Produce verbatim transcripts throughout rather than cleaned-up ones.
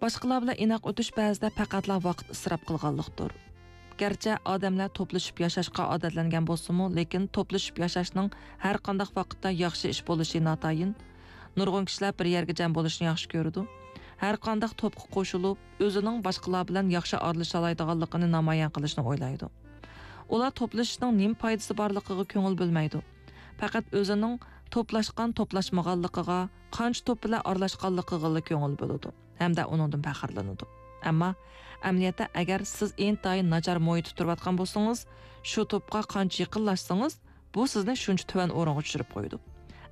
باشقىلار بىلەن ئىناق ئۆتۈش بەزىدە پەقەتلا ۋاقىت ئىسراپ قىلغانلىقتۇر. گەرچە ئادەملەر توپلىشىپ ياشاشقا ئادەتلەنگەن بولسىمۇ، لېكىن توپلىشىپ ياشاشنىڭ ھەر قانداق ۋاقىتتا ياخشى ئىش بولۇشى ناتايىن. نۇرغۇن كىشىلەر بىر يەرگە جەم بولۇشنى ياخشى كۆرىدۇ. ھەر قانداق توپقا قوشۇلۇپ، ئۆزىنىڭ باشقىلار بىلەن ياخشى ئارىلىشالايدىغانلىقىنى نامايان قىلىشنى ئويلايدۇ. ئۇلار توپلىشىشنىڭ نېمە پايدىسى بارلىقىغا كۆڭۈل بۆلمەيدۇ. پەقەت ئۆزىنىڭ توپلاشقان، توپلاشمىغانلىقىغا، قانچە توپ بىلەن ئارىلاشقانلىقىغىلا كۆڭۈل بۆلىدۇ ھەمدە ئۇنىڭدىن پەخىرلىنىدۇ. ئەمما ئەمەلىيەتتە، ئەگەر سىز ئىنتايىن ناچار مۇھىتتا تۇرۇۋاتقان بولسىڭىز، شۇ توپقا قانچە يېقىنلاشسىڭىز، بۇ سىزنى شۇنچە تۆۋەن ئورۇنغا چۈشۈرۈپ قويىدۇ.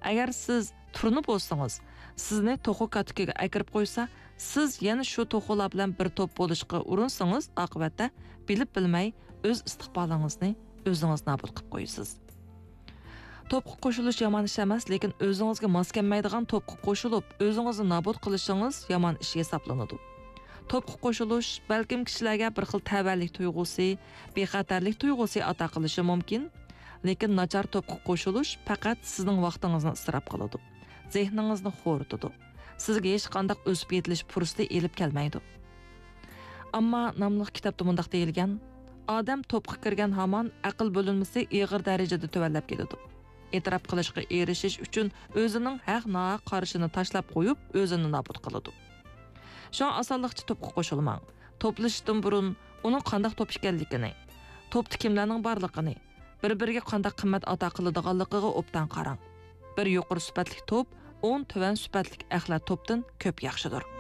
ئەگەر سىز تۇرنا بولسىڭىز، سىزنى توخۇ كاتىكىگە ئەكىرىپ قويسا، سىز يەنە شۇ توخۇلار بىلەن بىر توپ بولۇشقا ئۇرۇنسىڭىز، ئاقىۋەتتە بىلىپ بىلمەي ئۆز ئىستىقبالىڭىزنى ئۆزىڭىز نابۇت قىلىپ قويىسىز. توپقا قوشۇلۇش يامان ئىش ئەمەس، لېكىن ئۆزىڭىزگە ماس كەلمەيدىغان توپقا قوشۇلۇپ، ئۆزىڭىزنى نابۇت قىلىشىڭىز يامان ئىش ھېسابلىنىدۇ. توپقا قوشۇلۇش بەلكىم كىشىلەرگە بىر خىل تەۋەلىك تۇيغۇسى، بىخەتەرلىك تۇيغۇسى ئاتا قىلىشى مۇمكىن، لېكىن ناچار توپقا قوشۇلۇش پەقەت سىزنىڭ ۋاقتىڭىزنى ئىسراپ قىلىدۇ، زېھنىڭىزنى خورىتىدۇ، سىزگە ھېچقانداق ئۆسۈپ يېتىلىش پۇرسىتى ئېلىپ كەلمەيدۇ. ئامما ناملىق كىتابتا مۇنداق دېيىلگەن: ئادەم توپقا كىرگەن ھامان ئەقىل بۆلۈنمىسى ئېغىر دەرىجىدە تۆۋەنلەپ كېتىدۇ. ئېتىراپ قىلىشقا ئېرىشىش ئۈچۈن ئۆزىنىڭ ھەق-ناھەق قارىشىنى تاشلاپ قويۇپ، ئۆزىنى نابۇت قىلىدۇ. شۇڭا ئاسانلىقچە توپقا قوشۇلماڭ. توپلىشىشتىن بۇرۇن ئۇنىڭ قانداق توپ ئىكەنلىكىنى، توپتا كىملەرنىڭ بارلىقىنى، بىر-بىرىگە قانداق قىممەت ئاتا قىلىدىغانلىقىغا ئوبدان قاراڭ. بىر يۇقىرى سۈپەتلىك توپ ئون تۆۋەن سۈپەتلىك ئەخلەت توپتىن كۆپ ياخشىدۇر.